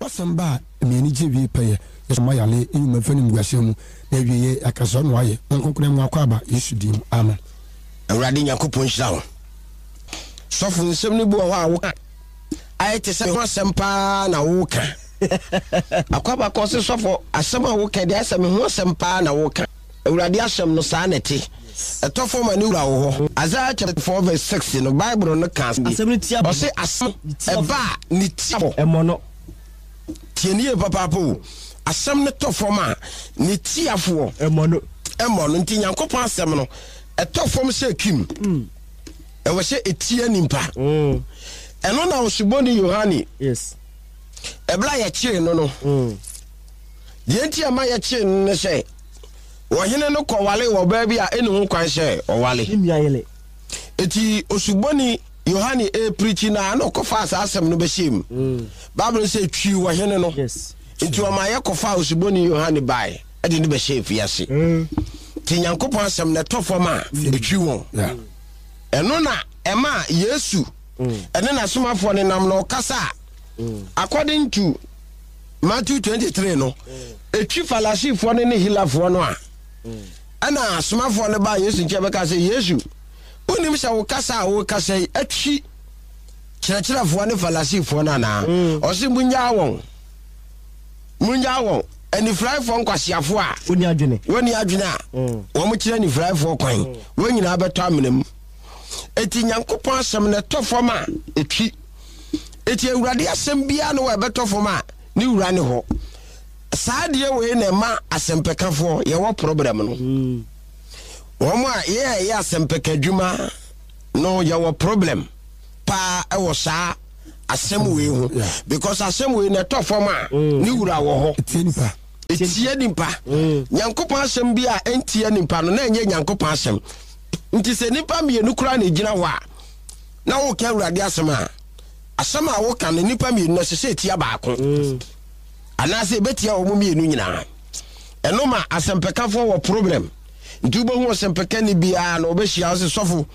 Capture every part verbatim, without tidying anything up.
W'asɛm ba a, ɛma ani gye wie pɛyɛ. Yɛsɔ ma yale nnwuma mfa animguaseɛ mu, na awieɛ yɛaka sɛ ɔno ayɛ. Honhom Kronkron mu akwaaba, Yesu din mu, amen. Awurade Nyankopɔn nhyira wo. Sɔfo, nsɛm no bi wɔ hɔ a woka ayɛ te sɛ me ho asɛm paa na woka. Akwaaba kɔ se sɔfo, asɛm a woka deɛ ayɛ sɛ me ho asɛm paa na woka. Awurade asɛm no saa na ɛte. Ɛtɔ fam a ne wura wɔ hɔ. Isaiah chapter four verse six no, Bible no ka asɛm bi. Ɔse asɛm ɛba a ne ti abɔ. Ɛmmɔ no. Tie no yie papaapa o. Asɛm no tɔ fam a ne tiafoɔ. Ɛmmɔ no. Ɛmmɔ no. Nti Nyankopɔn asɛm no ɛtɔ fam sɛ kim. Ɛwɔ sɛ ɛtia nipa. Ɛno na Osuboni Yohane. Yes. Ɛberɛ a yɛkyee no no. Deɛ nti a ɛma yɛkyee no ne sɛ ɔhene no kɔwaree ɔbaa bi a ɛnni ho kwan sɛ ɔware. Ne nua yere. Enti Osuboni Yohane repirikyi no a, na ɔkɔfaa saa asɛm no bɛhyɛɛ mu. Mm. Bible no sɛ twiw ɔhene no. Yes. Enti ɔma yɛkɔfaa Osuboni Yohane bae de no bɛhyɛɛ afiase. Mm. Nti Nyankopɔn asɛm no ɛtɔ fam a, ɛtwi wɔn. Ɛno na ɛma Yesu mm. ɛne n'asomafoɔ no nam na ɔkasa a, mm. according to Matthew twenty three no, etwi Farisifoɔ no ne Helafoɔ no a, ɛna asomafoɔ no baa Yesu nkyɛn bɛka sɛ, Yesu, wonim sɛ wo kasa a wokasa yi atwi kyerɛkyerɛfoɔ ne Farisifoɔ no anaa? Mm. Ɔse, Munnyaa wɔn, munnyaa wɔn, anifuraefoɔ nkwaseafoɔ a wɔnni adwene, wɔnni adwene a mm. wɔn kyerɛ anifuraefoɔ kwan, mm. wɔn nyinaa bɛtɔ amena mu. Eti Nyankopɔn asɛm no ɛtɔ fam a etwi. Eti Awurade asɛm biara ne wɔ ɛbɛtɔ fam a ne wura ne hɔ. Saa adeɛ wei na ɛma asɛmpɛkafoɔ yɛwɔ problem no. Mm. Wɔn a yɛ a ɛyɛ asɛmpɛka adwuma no yɛwɔ problem paa ɛwɔ saa asɛm wei ho because asɛm wei na ɛtɔ fam a mm. ne wura wɔ hɔ. Etie nipa. Etie nipa. Mm. Nyankopɔn asɛm bi a ɛntie nipa no na ɛnyɛ Nyankopɔn asɛm. Nti sɛ nipa mmienu koraa na egyina hɔ a na woka Awurade asɛm a, asɛm a woka no nnipa mmienu no ɛsɛ sɛ ɛtia baako mm. anaasɛ ɛbɛtia wɔn mmienu nyinaa. Ɛno ma asɛmpɛkafoɔ wɔ problem. Nti wobɛhu ɔsɛmpɛkani biara na ɔbɛhyia wo sɛ sɔfo,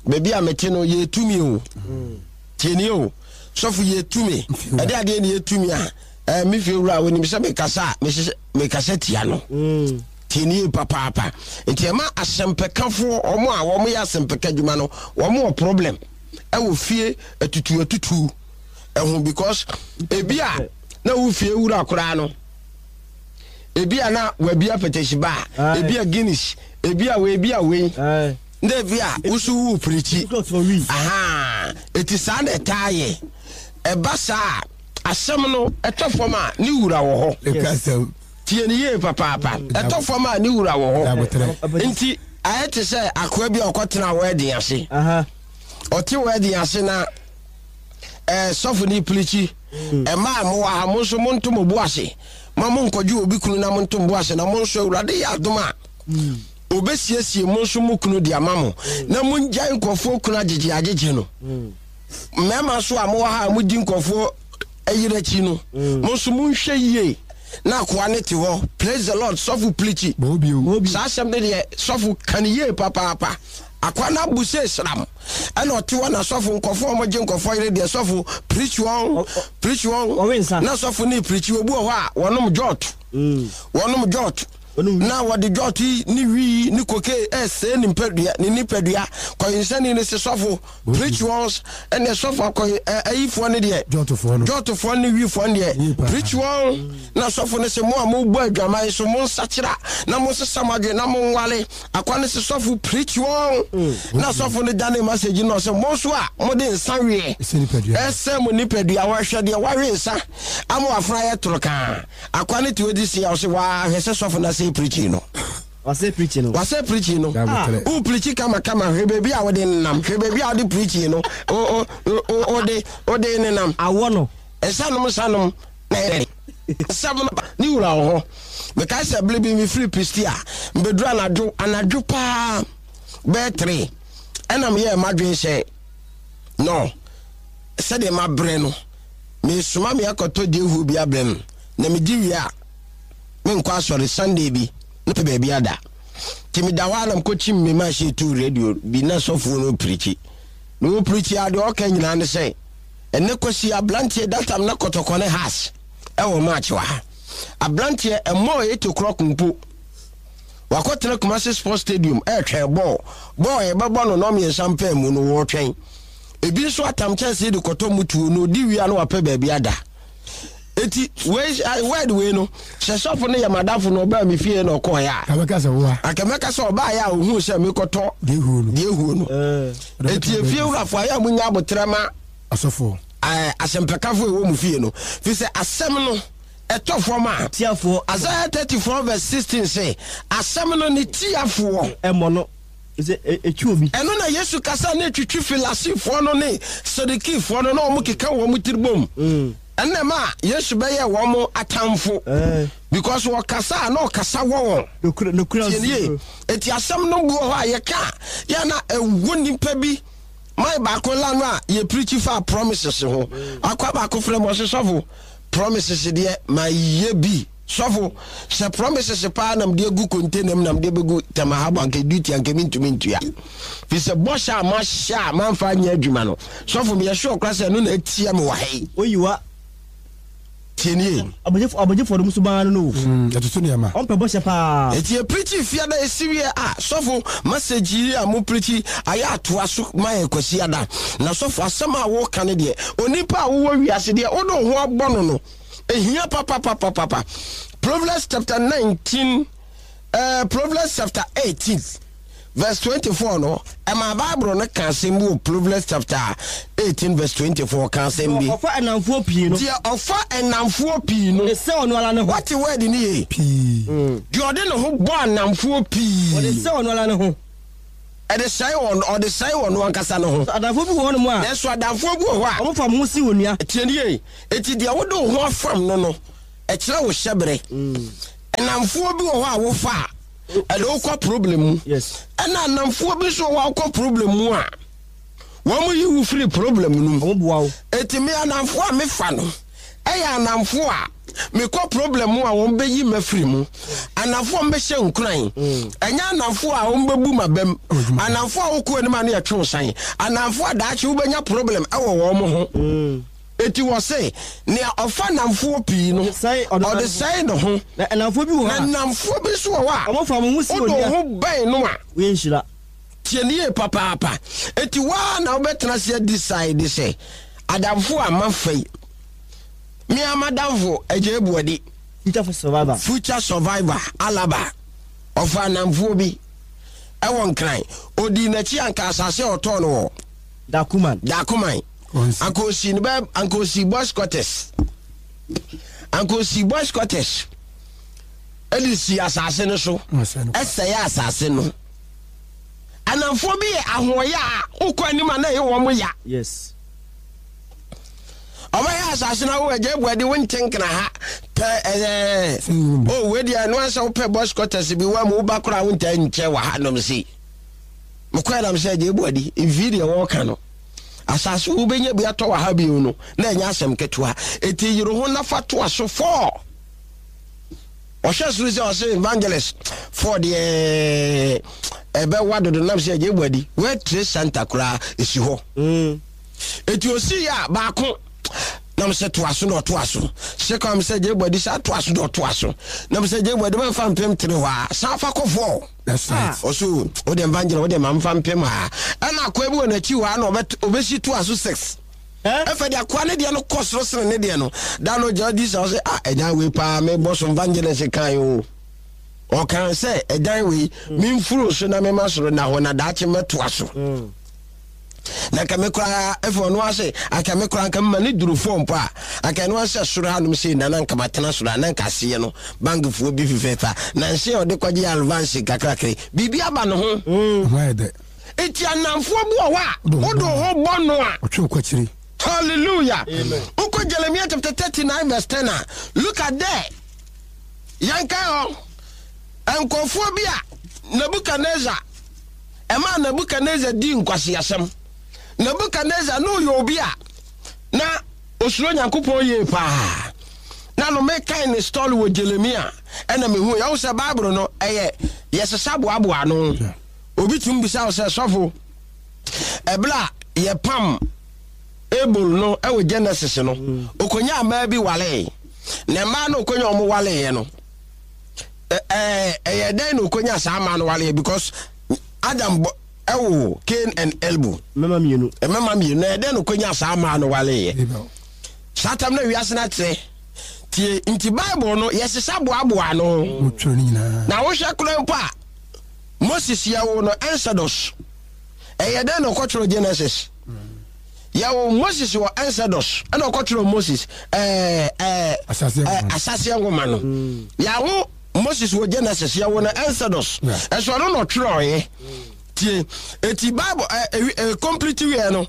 baabi a mete no yɛtumi o. Mm. Tienie o, sɔfo yɛtumi. Ɛde adeɛ ne yɛtumi a, eh, me fie wura wɔnim sɛ mekasa a mekasa tia no. Mm. Tie no yie papaapa. Nti ɛma asɛmpɛkafoɔ, wɔn a wɔn yɛ asɛmpɛka adwuma no, wɔn wɔ problem ɛwɔ fie atutu atutu ɛho because ebi a na wo fie wura koraa no, ebi a na wabi apɛtɛsi ba, ebi a Guinness, ebi a wei, ebi a wei, na ebi a woso wu pirikyi. Aha, eti saa na ɛtaa yɛ. Ɛba saa asɛm no ɛtɔ fam a ne wura wɔ hɔ. Tie no yie papaapa. Ɛtɔ fam a ne wura wɔ hɔ. Nti ayɛ te sɛ akoa bi a ɔkɔtena wɛɛden ase. Ɔte wɛɛden ase na ɛɛ sɔfo no pirikyi. Mmaa a mowɔ ha, mo nso monto mo bo ase. Ma monkɔgye obi kunu na monto mo bo ase na mo nso Awurade yɛ adom a obesiesie mo nso mo kunu de ama mo. Na mongyae nkurɔfoɔ kunu agyegye agyegye no. Mmarima nso a mowɔ ha a modi nkurɔfoɔ yere akyi no, mm. mo nso monhwɛ yie na akoa ne te hɔ. Praise the Lord, sɔfo pirikyi. Saa asɛm no deɛ sɔfo ka ne yie papaapa. Akoa no abu sɛ sram ɛna ɔte hɔ na sɔfo nkɔfoɔ a wɔgye nkɔfoɔ yere deɛ sɔfo pirikyi wɔn pirikyi wɔn na sɔfo ne pirikyi obi wɔ hɔ a wɔnom jɔt mm. wɔnom jɔt na wɔde jɔt yi ne wii ne koke ɛsɛe ne nipadua ne nipadua kɔyinsɛni ne se sɔfo Preach wɔn ɛnna sɔfo akɔ ayifoɔ no deɛ jɔtofoɔ no jɔtofoɔ ne wifoɔ no deɛ preach wɔn na sɔfo no sɛ mo a mobɔ adwaman so mo nsakyera na mo nsesa mo adwene na mo nwale akwa no sɛ sɔfo preach wɔn mm. na sɔfo no dane message no sɛ mo nso a mode nsa weɛ ɛsɛ mo nipadua wɔhwɛ deɛ wawe nsa ama wafra yɛ toro kaa akwa no te ɔdi si a ɔsɛ wahwɛ sɛ sɔfo no asɛ preaching no. Wasɛ preaching no. Wasɛ preaching no. Ah. Wo preachi kama kama hwɛ baabi a wode nenam. Hwɛ baabi a wode preaching no. O o o ode ode nenam. Awɔ no. Nsanom nsanom na yɛ nsɛm no ne wura wɔ hɔ. Mekae sɛ bere bi mefiri Pistia mbɛduru anadwo anadwo paa bɛyɛ three ɛna meyɛɛ m'adwene sɛ no sɛdeɛ mabrɛ no mesoma me akɔtɔ deɛ bi abrɛ no na medi wie a menkɔ asɔre Sunday bi na pɛ baabi ada. Nti meda hɔ a na mekɔkyim me machine too radio bi na sɔfoɔ no pirikyi. Na ɔpirikyi a deɛ ɔka nyinaa ne sɛ Ɛnɛ Kwasi abranteɛ that time na Kɔtɔkɔ ne Hearts ɛwɔ match wɔ ha. Abranteɛ ɛmmɔɔ eight o'clock mpo. Wakɔtena Kumasi Sports Stadium ɛretwɛn bɔɔl. Bɔɔl yɛbɛbɔ no nnɔmmiɛnsa mpaa mu no wɔretwɛn. Ebi nso atam kyɛnsee de kɔtɔ mutuo na ɔdi wie a na wapɛ baabi ada. Eti wei word wei no sɛ sɔfo no yɛ madamfo na ɔbaa me fie na ɔkɔɔeɛ a. Abɛka sɛ woa. Anka mɛka sɛ ɔbaeɛ a ohuu sɛ mekɔtɔ deɛ ehuo no. Deɛ ehuo no. Eti efie wurafo ayɛ a munya abotrɛ ma asɔfoɔ. Ɛɛ asɛmpakafo ɛwɔ mu fie no. Fi sɛ asɛm no ɛtɔ fam a. Tiafoɔ. Isaiah thirty four verse sixteen sɛ asɛm no ne tiafoɔ. Ɛmmɔ no. Sɛ ɛtwi obi. Ɛno na Yesu kasa ne twitwi Farisifoɔ no ne Sadukifoɔ no na wɔn keka wɔn tiri bom. Ɛnna ma Yesu bɛyɛ wɔn atamfo. Because wɔkasa a na ɔkasa wɔ wɔn. Tie nie. Eti asɛm no bu wɔ hɔ a yɛka yɛ na ɛwɔ nipa bi. Man baako la no a yɛ preach fa promises ho. Akwa baako frɛ mo ɔse sɔfo promises deɛ ma yɛ bi. Sɔfo sɛ promises paa nam de egu container mu nam de begu Tema Harbour anka duty anka mi ntumi ntua. Fi sɛ bɔhyɛ a mahyɛ a mamfa anyɛ adwuma no. Sɔfo meyɛ sure kora sɛ ɛno na atia me wɔ ha yi. Oyiwa. Tie nie. Abɔgyefo abɔgyefo no nso baa no no. Mm, ɛtoto nneɛma. Ɔmpɛ bɔhyɛ paa. Eti yɛ preach fiada esi wie a sɔfo message yi a mo preach ayɛ atoa so ma yɛ Kwasi ada. Na sɔfo asɛm a wɔka no deɛ onipa a wowɔ wiase deɛ wode wo ho abɔ no no ehia papapapapa. Proverbs chapter nineteen, uh, Proverbs chapter eighteen verse twenty-four no ɛma Bible no ka asɛm bi wɔ Proverbs chapter eighteen verse twenty-four ka asɛm bi. Ɔfa ɛnamfoɔ pii no. Deɛ ɔfa ɛnamfoɔ pii no. Ɔde sɛ ɔno ara ne ho. Wate word ni ye? Pii. Deɛ ɔde ne ho bɔ anamfoɔ pii. Ɔde sɛ ɔno ara ne ho. Ɛde sɛe wɔn, ɔde sɛe wɔn ankasa ne ho. Adamfoɔ bi wɔ hɔnom a. Nanso adamfoɔ bi wɔ hɔ a. Ɔmo fam ho si wɔ nua. Tie ni ye? Eti deɛ wode wo ho afam no no, ɛkyerɛ wo hyɛbere. Ɛnamfoɔ bi wɔ hɔ a wofa a, ɛde wokɔ problem mu. Yes. Ɛna anamfoɔ bi nso wɔ hɔ a wokɔ problem mu a, wɔn yi wo firi problem no mu. Ɔmo boa wo. Eti me anamfoɔ a mefa no, ɛyɛ anamfoɔ a mekɔ problem mu a wɔn bɛyi me afiri mu. Anamfoɔ a wɔbɛhyɛ nkuran. Ɛnyɛ anamfoɔ a wɔn bɛbu ma bɛm. Anamfoɔ a wokɔ anim a ne yɛtwe wo san. Anamfoɔ a daakye wobɛnya problem ɛwɔ wɔn ho. Eti wɔ se nea ɔfa namfoɔ pii no, Ɔde sɛe ɔno ɔde sɛe ne ho. Na ɛnamfoɔ bi wɔ hɔ a. Na namfoɔ bi nso wɔ hɔ a. Ɔmo fa mo ho si Wode onua. wo ho bɛn no a. Woyɛ nhyira. Tie ne yie papaapa. Eti waa na wobɛtena ase decide sɛ adamfo a mafa yi. Me a madamfo agya ebuadi. Future survivor. Future survivor Alaba. Ɔfa namfoɔ bi ɛwɔ Nkran. Odi n'akyi anka asase a ɔtɔɔ no wɔ. Dakuman. Dakuman. Anka osi ne bɛ anka osi boys quarters. Anka osi boys quarters. Ɛde si asase no so. Ɛsɛe asase no. Anamfoɔ bi yɛ ahoɔyɛ a wokɔ anim a na ɛyɛ wɔn ya. Yes. Ɔbɛyɛ asase no awo agya ebuadi wo ntenkena ha pɛ ɛɛ o wei deɛ ɛno asɛ wopɛ boys quarters bi wa mu woba koraa wo ntaa nkyɛ wɔ ha nom si. Mekɔɛ nam sɛ agya ebuadi mfii deɛ wɔɔka no. Asase wo bɛnya bi atɔ wɔ ha bio no na ɛnyɛ asɛm ketewa. Eti yere ho nafa toa so four. Ɔhwɛ soro sɛ ɔsɛ evangelist four deɛ ɛbɛwa dodo nam sɛ agya ebuadi World Trade Center koraa esi hɔ. Mm. Eti osi yɛ a baako nam sɛ toa so na ɔtoa so. Second sɛ agya ebuadi sa toa so na ɔtoa so. Nam sɛ agya ebuadi bɛfa mpem tere hɔ a san fa kɔ four. That's right. Ɔso o de evangelist o de ma nfa mpem ha. Ɛna akoa bi wɔ n'akyi hɔ a na ɔbɛ ɔbɛsi toa so six. Ɛfɛ de akoa ne deɛ no kɔ soro sene ne deɛ no. Da no gya di sa ɔsɛ ah ɛdan wei paa me bɔ so evangelist kan o. Ɔkan sɛ ɛdan wei me nfuro so na me ma soro na hɔ na daakye mɛtoa so. Na nka me koraa ɛfɛ ɔno ase anka me koraa nka ma ne duru fɔm po a anka ɛno asɛ soro hanom sei na na nka matena soro a na nka aseɛ no bankfoɔ bi fefɛɛfa na nse a ɔde kɔgye advance kakrakra biribi aba ne ho. Ho ayɛ dɛ. Eti anamfoɔ bi wɔ hɔ a wode wo ho bɔ no a. Ɔtwe wo kɔ akyiri. Hallelujah. Wokɔ Jeremiah chapter thirty-nine verse ten a look at there. Yɛnka hɔ nkurɔfoɔ bi a Nebuchadnezzar ɛma Nebuchadnezzar di nkwasiasɛm. Nebuchadnezzar no yɛ obi a na osuro Nyankopɔn yie paa. Na no mekan ne story wɔ Jeremiah ɛna mehu yɛwo sɛ Bible no ɛyɛ yɛsesa boaboa no. Obi tumi bisa wo sɛ sɔfo ɛberɛ a yɛpam Abel no ɛwɔ Genesis no, okonya mmaa bi walee, na mmaa no okonya ɔmo waleeɛ no, ɛɛ ɛyɛ dɛn na okonya saa mmaa no waleeɛ? Because Adam bɔ ɛwɔ Cain and Abel. Mmarima mmienu. Mmarima mmienu, na ɛyɛ dɛn na okonya saa mmaa no waleeɛ? Abel. Saa tam na wiase no akyerɛ tie nti Bible no yɛsesa boaboa no. Wɔtwerɛ no nyinaa. Na wohwɛ kora mpo a, Moses yɛwo no Exodus. Ɛyɛ dɛn na ɔkɔtwerɛ Genesis? Yɛwo Moses wɔ Exodus, ɛna ɔkɔtwerɛ Moses ɛɛ ɛɛ Ahyɛaseɛ ɛɛ nwoma. Ahyɛaseɛ nwoma no, yɛawo Moses wɔ Genesis, yɛwo no Exodus. Yeah. Ɛso ɔno na ɔtwerɛeɛ. Tie, eti Bible ɛ ɛ ɛ complete wiɛ no,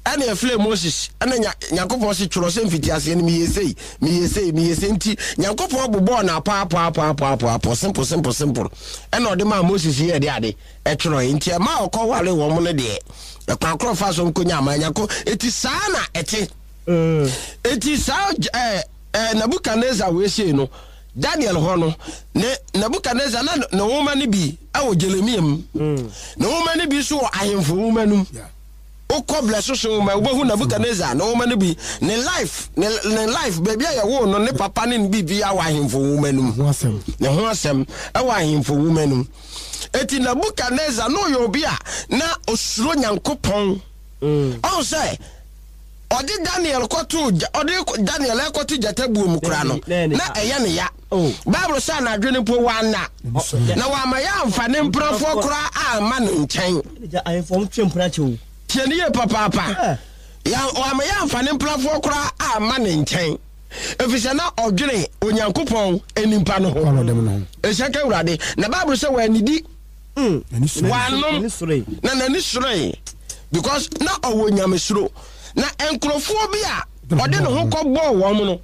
ɛna ɛfilɛ Moses, ɛna nya Nyankopɔn si twerɛ sɛ mfitiaseɛ no meyɛ sei, meyɛ sei, meyɛ sei. Nti Nyankopɔn bobɔɔ na apɔapɔapɔapɔapɔ, simple, simple, simple, ɛna ɔde maa Moses yɛ de ade ɛtwerɛeɛ. Nti ɛma ɔkɔ wale wɔn no deɛ, ɛkwan korɔ fa so nkonya ama Nyanko. Eti saa na ɛte. Eti saa ɛɛ ɛɛ Nebukadnezar wei sei no, Daniel hɔ no, ne Nebukadnezar na ne nwoma no bi ɛwɔ Jeremia mu, ne nwoma no bi nso wɔ ahemfo nwoma no mu. Yeah. Wokɔ blɛ soso nwoma, wobɛhu Nebukadnezar ne nwoma no bi, ne life ne ne life, baabi a yɛwoo no, ne papa ne ne biribi wɔ ahemfo nwoma no mu. Ho asɛm. Ne ho asɛm ɛwɔ ahemfo nwoma no mu. Eti Nebukadnezar na ɔyɛ obi a na osuro Nyankopɔn. Ɔn sɛ ɔde Daniel kɔto gya- ɔde Daniel ɛkɔto gyata buo mu kora no, Ne- ne- na ɛyɛ ne ya. Oh. Bible sɛ anadwo no mpo wanna, na wama yɛ amfa ne mprafoɔ koraa amma ne nkyɛn. Ɛna ahemfo ɔmo twe mpena kyɛw. Tie ne yie papaapa. Eh. Ya- wama yɛ amfa ne mprafoɔ koraa amma ne nkyɛn, ɛfiri sɛ na ɔdwene Onyankopɔn nipa no ho. Kwan ɔdɛm no ho. Ɛhyɛ ka Awurade na Bible sɛ wɔanidi. N'ani sɔ. Wanom. N'ani sɔre. Na n'ani soroe because na ɔwɔ nyamesuro, na nkurɔfoɔ bi a ɔde ne ho kɔbɔɔ wɔn no,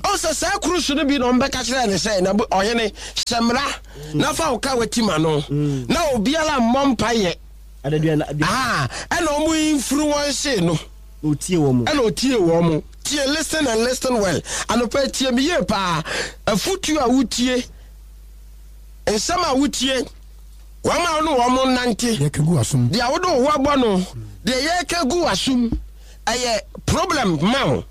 ɔsɛ saa kurusu no bi na ɔmbɛka kyerɛ ne sɛ, na ɔhene hyɛ mmara na fa wo ka wati ma no na obiara mmɔ mpayɛ. Adaduana. Ah, ɛna ɔmo influence no. Na otie wɔn mu. Ɛna otie wɔn mo. Tie, listen and listen well. Anɔpɛ, tie mi yie paa. Afutuo a wotie, nsɛm a wotie, wɔn a wɔne wɔn nante, Yɛka gu asom. Deɛ wode wo ho abɔ no, deɛ yɛreka gu w'asom, ɛyɛ problem ma wo,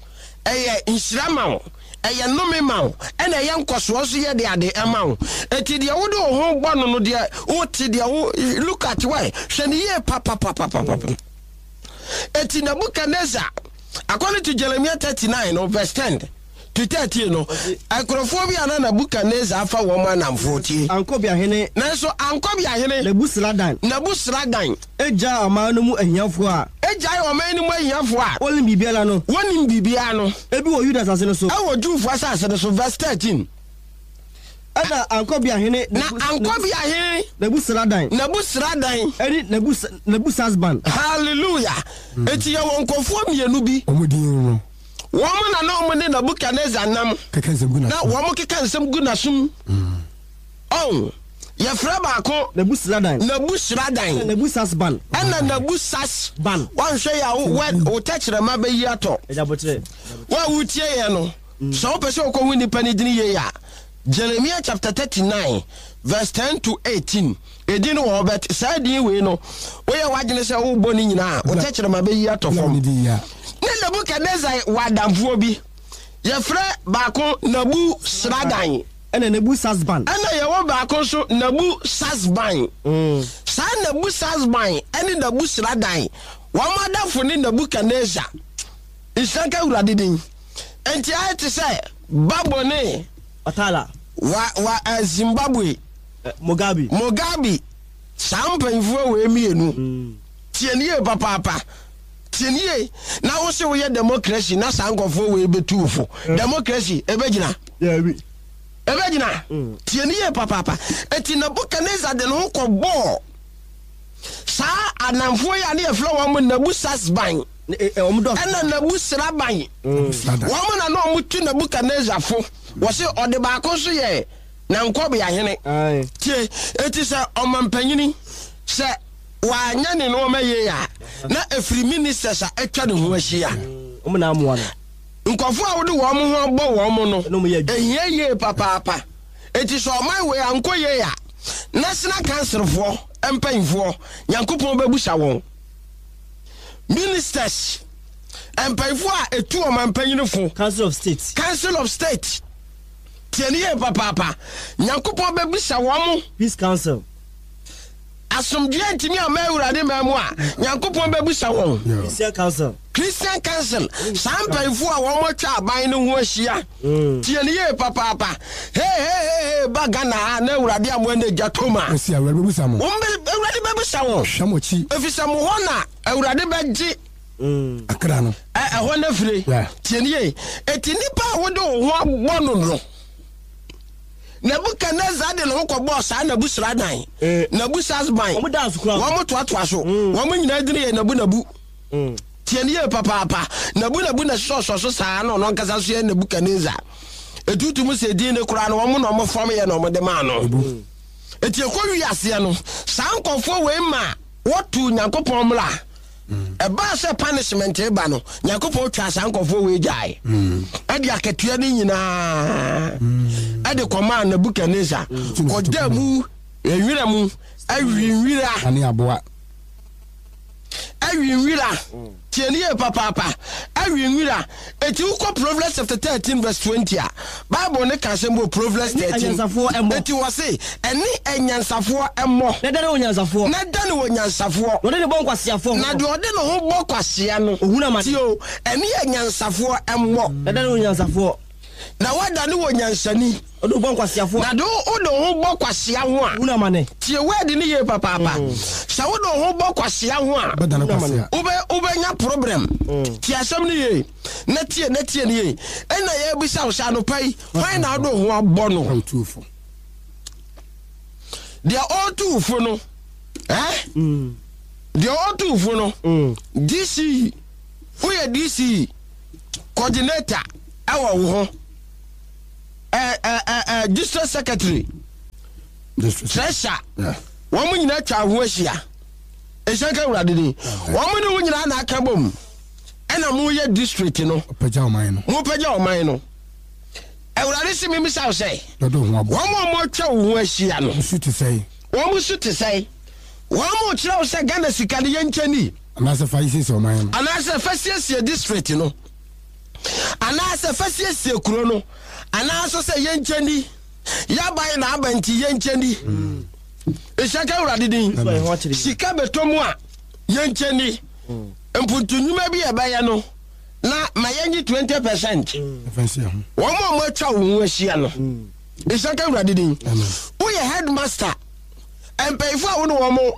ɛyɛ nhyira ma wo, ɛyɛ nnome ma wo, ɛna ɛyɛ nkɔsoɔ nso yɛ de ade ɛma wo. Eti deɛ wode wo ho bɔ no no, deɛ wote, deɛ wo look at why, hwɛ ne yie papapapapapa. Eti Nebuchadnezzar, according to Jeremiah thirty-nine no verse ten to thirteen no, nkurɔfoɔ bi a na Nebuchadnezzar afa wɔn anamfoɔ, tie. Ankɔbeahene. Nanso Ankɔbeahene Nebusaradan Nebusaradan egya ɔman no mu ahiafoɔ a egyae ɔman no mu ahiafoɔ a wɔnim biribiara no, wɔnim biribiara no, ebi wɔ Yuda asase no so. Ɛwɔ Jewfoɔ asase no so, verse thirteen. Ɛna Ankɔbeahene Na Ankɔbeahene Nebusaradan Nebusaradan ɛne Nebus Nebusasban. Hallelujah! Eti yɛwɔ nkɔfoɔ mmienu bi. Wɔn din no. Wɔn na na wɔn ne Nebukadnezar nam. Keka nsɛm gu na n'asom. Wɔn keka nsɛm gu n'asom. Ɔn yɛfrɛ baako Nebusaradan. Nebusaradan. Nebusasban. Ɛna Nebusas Ban. Wɔnhwɛ yɛ a, wo wo tɛkyerɛma bɛyi atɔ. Ɛgyabokyerɛ. Wo a wotie yɛn no, sɛ wopɛ sɛ wokɔhu nnipa no din yie a, Jeremia chapter thirty-nine verse ten to eighteen, ɛdin no wɔ hɔ. But saa din wei no, woyɛ w'adwene sɛ wobɔ no nyinaa a, wo tɛkyerɛma bɛyi atɔ Bla fam. ne din ya. Ne Nebukadnezar wɔ adamfoɔ bi, yɛfrɛ baako Nabu Sradan. Ɛna Nebusasban. Ɛna yɛwɔ baako nso, Nabu Sasban. Saa Nabu Sasban ɛne Nabu Sradan, wɔn adamfo ne Nebukadnezar. Nhyira nka Awurade din. Enti ayɛ te sɛ Babo ne Watala. wa wa eh, Zimbabwe. eh, Mugabe. Mugabe. Saa mpanyinfoɔ wei mmienu, tie ne yie papaapa, tie ne yie. Na wo se woyɛ democracy na saa nkɔfoɔ wei bɛtu wo fo, democracy ɛbɛgyina? Dabi. Ɛbɛgyina? Tie ne yie papaapa. Eti Nebukadnezar de ne ho kɔbɔɔ saa anamfoɔ yi a ne yɛfrɛ wɔn mo Nebusasban Ɔmo dɔs. ɛna Nebusraban. Sradan. Wɔn na na wɔn tu Nebukadnezar fo. Wɔsi ɔde baako nso yɛ nankɔbeahene. Aye. Tie, eti sɛ ɔmampanyini sɛ wanyɛ ne nneɛma yie a, na efiri ministers a atwa ne ho ahyia. Ɔmo na amoa no. Nkɔfoɔ a wode wɔn ho abɔ wɔn no, Ɛna ɔmo yɛ adwuma. ehia yie papaapa. Eti sɛ ɔman wei ankɔ yie a, National Council foɔ mpanyinfoɔ, Nyankopɔn bɛbusa wɔn. Ministers Mpanyinfoɔ a etu ɔman mpanyinfo. Council of State. Council of State, tie ne yie papaapa, Nyankopɔn bɛbisa wɔn mo. Peace Council. Asomdwoeɛ ntumi ama Awurade man mu a, Nyankopɔn bɛbisa wɔn. Yeah. Christian Council. Christian Council, saa mpanyinfoɔ a wɔn atwa aban no ho ahyia, tie ne yie papaapa, hey hey hey hey, ba Ghana ha na Awurade amoa ne gya tom a, Ɔsi Awurade bɛbusa mo. Wɔn bɛ Awurade bɛbisa wɔn. Hwɛ mo akyi. Efisɛ mo hɔ na Awurade bɛgye akra no. Ɛ ɛhɔ no afire. Yeah. Tie ne yie, eti nipa a wode wo ho abɔ no no Nebukadnezar de ne ho kɔbɔɔ saa Nebusaradan, Eh. Nebusasban. Wɔn da so koraa. Wɔn toatoa so, wɔn nyinaa dini yɛ Nabu Nabu. Tie ne yie papaapa, Nabu Nabu na sɔsɔ so saa na ɔno ankasa so yɛ Nebukadnezar. Etutu mu sɛ din ne koraa no, wɔn na wɔn fam yɛ na wɔn de maa no. Eti ekɔ wi aseɛ no, saa nkɔfoɔ wei ma wɔtu Nyankopɔn mmra. Ɛbaa sɛ punishment ba no, Nyankopɔn twa saa nkɔfoɔ wei gyae, ɛde akatua no nyinaa ɛde kɔmaa Nebukadnezar, kɔda mu nwira mu awi nwira. Ane aboa. Awi nwira. Tie ne yie papaapa, awi nwira. Eti wokɔ Proverbs chapter thirteen verse twenty a, Bible ne ka asɛm wɔ Proverbs Ɛne thirteen. anyansafoɔ ɛmmɔ. Eti wɔ se ɛne anyansafoɔ ɛmmɔ. Na dane wɔ nyansafoɔ. Na dane wɔ nyansafoɔ. Na ɔde ne bɔ nkwasiafoɔ ho. Na deɛ ɔde ne ho bɔ kwasea no, Ohunu amane. Tie o, ɛne anyansafoɔ ɛmmɔ. Na dane wɔ nyansafoɔ. Na wadane wɔ nyansani. Ɔde wo bɔ nkwasiafoɔ. Na de wode wo ho bɔ kwasea ho a, Ohunu amane. Tie word ne yie papaapa, sɛ wode wo ho bɔ kwasea ho a, Bɛdane kwasea. wobɛ wobɛnya problem. Tie asɛm no yie na tie na tie no yie. Ɛna yɛbisa wo sɛ anɔpa yi, hwan na wode wo ho abɔ no? Ɔtuufo. Deɛ ɔretu wo fo no, ɛ deɛ ɔretu wo fo no, D C E, woyɛ D C E coordinator ɛwɔ wo ho, ɛ ɛ ɛ ɛ district secretary, District. Treasurer, Yeah. wɔn mo nyinaa atwa ho ahyia. Ɛhyɛn ka Awurade ni, wɔn ne wo nyinaa na aka bom ɛna mo yɛ district no. Ɔpagya ɔman no. Mo pagya ɔman no. Awurade si mi misa wo sɛ, Dɔdɔ ho abɔ. wɔn a wɔn atwa wo ho ahyia no, Nsu te sɛe. Wɔn mo so te sɛn? Wɔn mo kyerɛ wo sɛ Ghana sika no yɛnkyɛ ni, Anaasɛ fa yi siesie ɔman no. Anaasɛ fa siesie district no, anaasɛ fa siesie kuro no, anaasɛ sɛ yɛnkyɛ ni, yaban na aba nti yɛnkyɛ ni. Nhyɛ ka Awurade din. So ɛho akyerɛ. Sika bɛtɔ mu a, yɛnkyɛ ni. Mpuntu nnwuma bi a ɛbɛyɛ no na ma yɛnye twenty percent. Ɛfɛn si ɛho. Wɔn a wɔatwa wo ho ahyia no, nhyɛ ka Awurade din. Amen. Woyɛ headmaster, mpanyinfoɔ a wo ne wɔn,